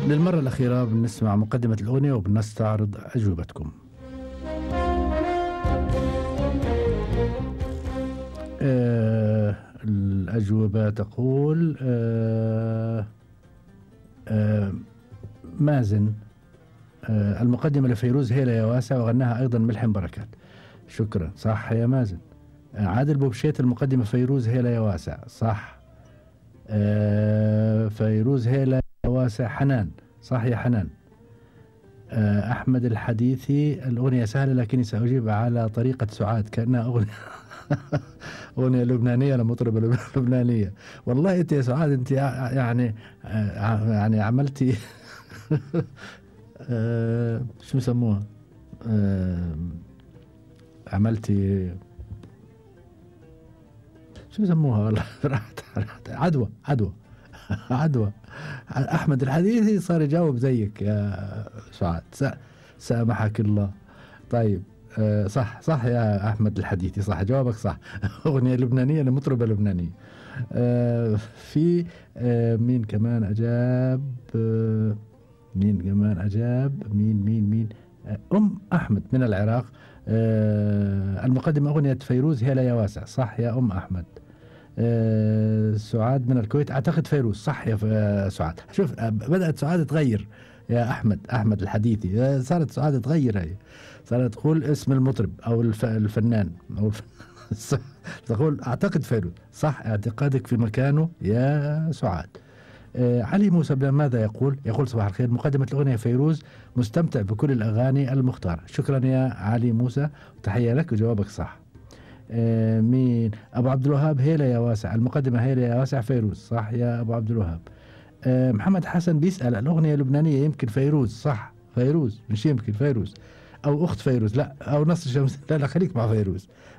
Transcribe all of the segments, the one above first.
للمرة الأخيرة بنسمع مقدمة الأغنية وبنستعرض أجوبتكم. الأجوبة تقول مازن المقدمة لفيروز هيلا يا واسع وغناها أيضا ملحم بركات. شكرا، صح يا مازن. عادل بوبشيت المقدمة فيروز هيلا يا واسع، صح. فيروز هيلا يا واسع. حنان، صح يا حنان. أحمد الحديثي الأغنية سهلة لكني سأجيب على طريقة سعاد كأنها أغنية أغنية لبنانية لمطربة لبنانية. والله أنت يا سعاد أنت يعني عملتي شو يسموها، عملتي شو يسموها والله راحت عدوى عدوى. أحمد الحديثي صار يجاوب زيك يا سعاد، سامحك الله. طيب صح يا أحمد الحديثي، صح جوابك صح. أغنية لبنانية لمطربة لبنانية. في مين كمان أجاب؟ مين أم أحمد من العراق. المقدمة أغنية فيروز هيلا يا واسع، صح يا أم أحمد. سعاد من الكويت أعتقد فيروز، صح يا سعاد. شوف بدأت سعاد تغير يا أحمد الحديثي، صارت سعاد تغير، هي صارت تقول اسم المطرب أو الفنان أو تقول أعتقد فيروز، صح اعتقادك في مكانه يا سعاد. علي موسى ماذا يقول؟ يقول صباح الخير، مقدمة الأغنية فيروز مستمتع بكل الأغاني المختارة. شكرا يا علي موسى وتحية لك وجوابك صح. مين؟ أبو عبد الوهاب هيلا يا واسع، المقدمة هيلا يا واسع فيروز، صح يا أبو عبد الوهاب. محمد حسن بيسأل الأغنية اللبنانية يمكن فيروز، صح فيروز، مش يمكن فيروز أو أخت فيروز، لا أو نصر شمس، لا خليك مع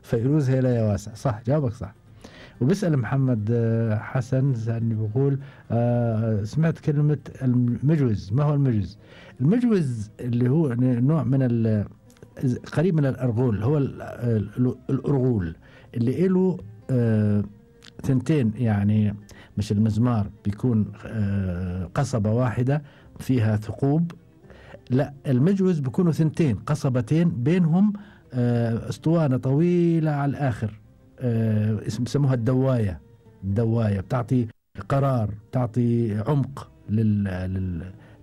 فيروز هيلا يا واسع، صح جوابك صح. وبيسأل محمد حسن سألني بقول سمعت كلمة المجوز، ما هو المجوز؟ المجوز اللي هو نوع من قريب من الأرغول، هو الأرغول اللي له ثنتين، يعني مش المزمار بيكون قصبة واحدة فيها ثقوب، لا المجوز بيكونوا ثنتين قصبتين بينهم اسطوانة طويلة على الآخر، بسموها الدواية بتعطي قرار، بتعطي عمق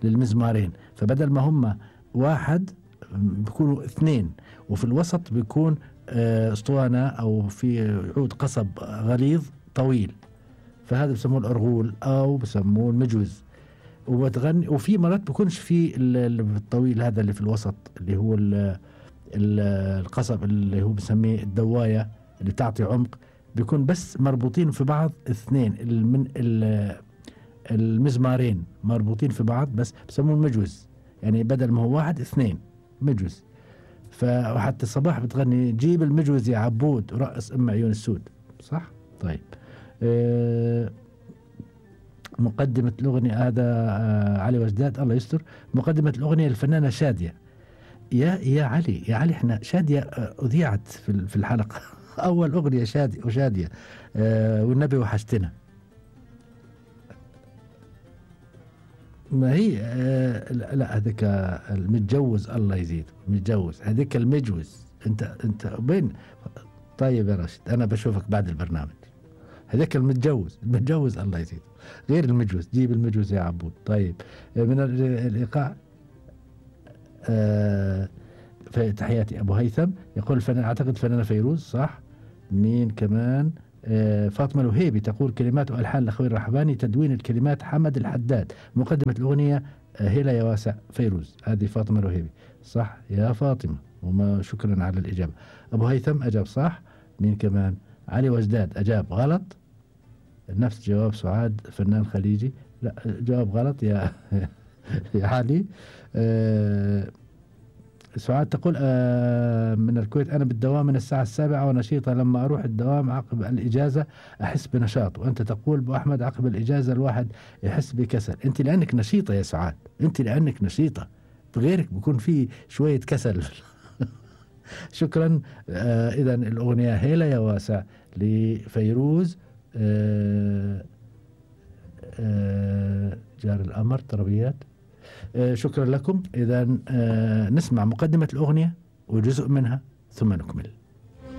للمزمارين. فبدل ما هم واحد بيكونوا اثنين، وفي الوسط بيكون اسطوانة او في عود قصب غليظ طويل، فهذا بسموه الأرغول او بسموه المجوز. وبتغني، وفي مرات بيكونش في الطويل هذا اللي في الوسط اللي هو القصب اللي هو بسميه الدواية اللي تعطي عمق، بيكون بس مربوطين في بعض اثنين من المزمارين مربوطين في بعض، بس بسموه المجوز، يعني بدل ما هو واحد اثنين مجوز. فحتى الصباح بتغني جيب المجوز يا عبود ورقص ام عيون السود، صح. طيب مقدمة الأغنية هذا علي وجداد الله يستر. مقدمة الأغنية الفنانة شادية. يا علي احنا شادية أذيعت في الحلقة أول أغنية شادية والنبي وحشتنا. ما هي لا هذيك المتجوز الله يزيد، متجوز هذيك المجوز. انت بين. طيب يا راشد انا بشوفك بعد البرنامج. هذاك المتجوز الله يزيد، غير المجوز، جيب المجوز يا عبود. طيب من الإيقاع في تحياتي أبو هيثم يقول الفنان أعتقد فنانة فيروز، صح. مين كمان؟ فاطمة الوهيبي تقول كلمات وألحان لأخوي الرحباني، تدوين الكلمات حمد الحداد، مقدمة الأغنية هيلا يا واسع فيروز. هذه فاطمة الوهيبي، صح يا فاطمة، وما شكرا على الإجابة. أبو هيثم أجاب صح. مين كمان؟ علي وجداد أجاب غلط، نفس جواب سعاد فنان خليجي، لا جواب غلط يا يا علي. سعاد تقول من الكويت أنا بالدوام من الساعة 7 ونشيطة، لما أروح الدوام عقب الإجازة أحس بنشاط. وأنت تقول أبو أحمد عقب الإجازة الواحد يحس بكسل. أنت لأنك نشيطة يا سعاد، أنت لأنك نشيطة، بغيرك بيكون في شوية كسل. شكرا. إذا الأغنية هيلا يا واسع لفيروز. جار الأمر طربيات شكرا لكم. إذا نسمع مقدمة الأغنية وجزء منها ثم نكمل.